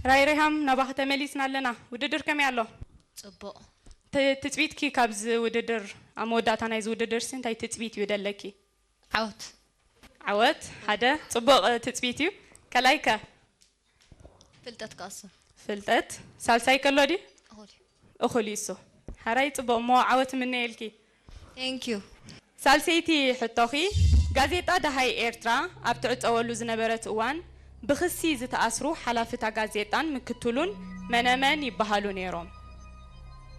ራይሪሃም፣ ናባኺ ተመሊስና ኣለና። ውድድር ከመይ ኣሎ? ጽቡቕ። ት- ትጽቢትኪ ካብዚ ውድድር፣ ኣብ መወዳእታ ናይዚ ውድድር ሲ እንታይ ትጽቢት እዩ ደለኪ? ዓወት። ዓወት ሓደ ጽቡቕ ትጽቢት እዩ። ከላይከ? ፍልጠት ክቐስም። ፍልጠት። ሳልሳይ ከሎ ድዩ? እኹል። እኹል እዩ እሱ። ሓራይ ጽቡቕ እሞ ዓወት ምነየልኪ። Thank you። ሳልሰይቲ ሕቶኺ፣ ጋዜጣ ደሃይ ኤርትራ ኣብ ትዕጸወሉ ዝነበረት እዋን ብኽሲ ዝተኣስሩ ሓላፍታ ጋዜጣን ምክትሉን መነመን ይበሃሉ ነይሮም?